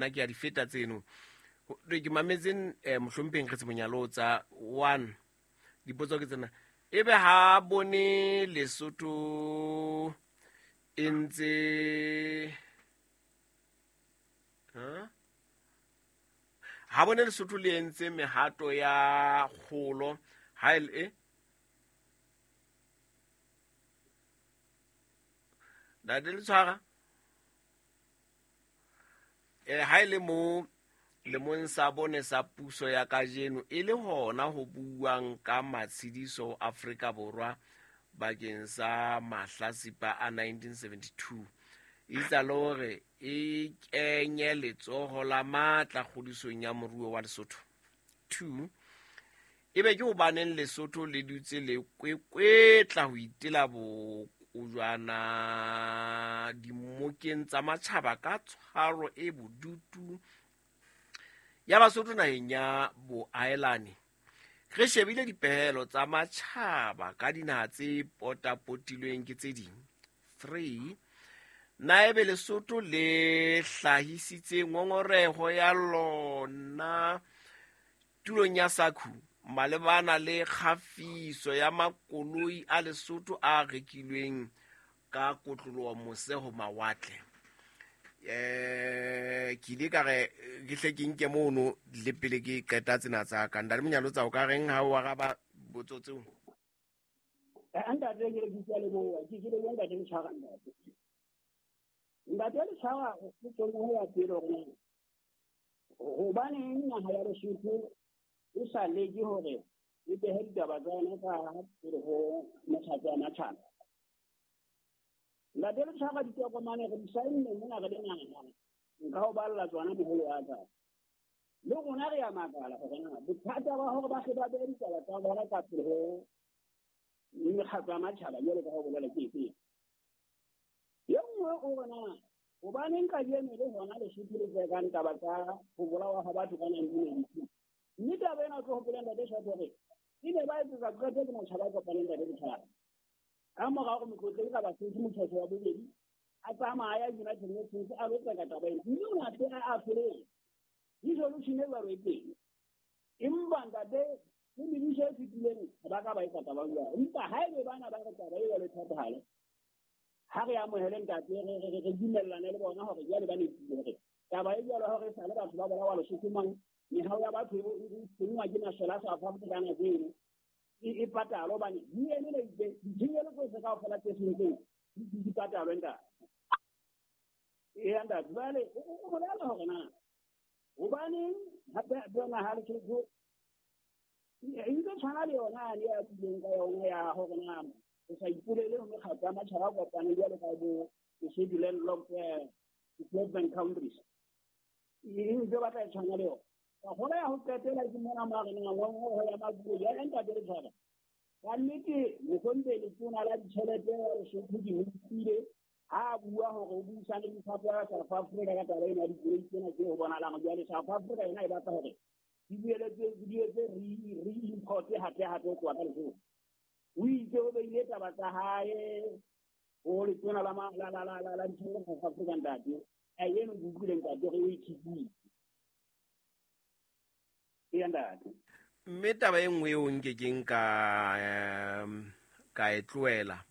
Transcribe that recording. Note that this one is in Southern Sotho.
Nna ke a di feta tseno. Ke mametse mohlompheng re Monyalotsa one. Dipotso ke tsena. Ebe ha bone Lesotho e ntse ha bone Lesotho le entse mehato ya kgolo ha e Ntate le tshwara ha e le mo lemong sa bone sa puso ya kajeno e le hona ho buang ka matshediso Afrika Borwa bakeng sa mahlasipa a 1972 itsa le hore e kenye letsoho la matla kgodisong ya moruo wa Lesotho. 2 ebe ke hobaneng Lesotho le dutse le kwekwetla ho itela bokojwana dimokeng tsa matjhaba ka tshwaro e bodutu ya Basotho naheng ya boahelani. Re shebile dipehelo tsa matjhaba ka dinaha tse potapotilweng ke tse ding. 3 na ebe Lesotho le hlahisitse ngongoreho ya lona tulong ya SACU malebana le kgafiso ya makoloi a Lesotho a rekilweng ka kotloloho mose ho mawatle. Ke ile ka re ke hle ke nke mono le pele ke qeta tsena tsa ka. Ntate Monyalotsa, o ka reng ha o araba botso tseo? Ntate ke le ke leboha, ke leboha ntate Letshwara ntate. Ntate Letshwara o tsone ho ya pele hore hobaneng naha ya Lesotho e sa leke hore e behe ditaba tsa yona ka pele ho mekgatlo ya matjhaba. Ntate Letshwara ditokomane re di saenne mona re le naha, nka o balla tsona moholo wa ka. Le rona re a makala hore na bothata ba hore ba hle ba behe ditaba tsa bona ka pele ho mekgatlo ya matjhaba jwalo ka ho bolela ke efe. E nngwe o re na hobaneng kajeno le hona Lesotho le tsekang taba tsa ho bolawa ha batho ka 1992. Mme taba ena o tlo hopola ntate Shato hore e ne ba etsetsa qeto ke matjhaba a kopaneng ntate Letshwara. Ka mora hore motlotlegi ka Basotho motjhetjhe wa bobedi a tsamaya United Nations a lo tseka taba ena. Mme o ne a tena a ahloletswe. Resolution e jwalo e teng. Empa ntate le mebuso e fetileng ha ba ka ba etsa taba jwalo. Empa haebe bana ba re taba e jwalo e thatohale, ha re amohele ntate re dumellane le bona hore jwale ba nepile hore taba e jwalo hore e sale batho ba bolawa Lesotho mang mehao ya batho e senngwa ke masole a South Africa ka nako eno e patalwe hobane UN e itse ditshenyehelo tsohle kaofela tse sentseng di patalwe ntate. Eya ntate, jwale o bolela hore na hobaneng hape bona ha Lesotho e ntse tshwana le yona yane ya buileng ka yona ya hore na o sa ipolele ho mekgatlo ya matjhaba a kopaneng jwalo ka bo Lesotho landlocked development countries. E ntse batla e tshwana le yona. Ka gola ya ho qetela ke mona mo re nang ngongoreho ya makoloi ya ntate Letshwara. Ka nnete mohlomphehli letona la ditjhelete ya Lesotho ke mo utlwile ha a bua hore o buisane le Lefapha la South Africa ka taba ena ya dikoloi tsena tse ho bonahalang jwale South Africa yona e batla hore di boeletse di etse re-import hape hape ho tloha ka Lesotho. O itse o beile taba tsa hae ho letona la la la la la ditjhelete South Africa ntate. A eno ke utlwile ntate hore o e khipile. Eya ntate. Mme taba e nngwe eo nke keng ka ka e tlohela.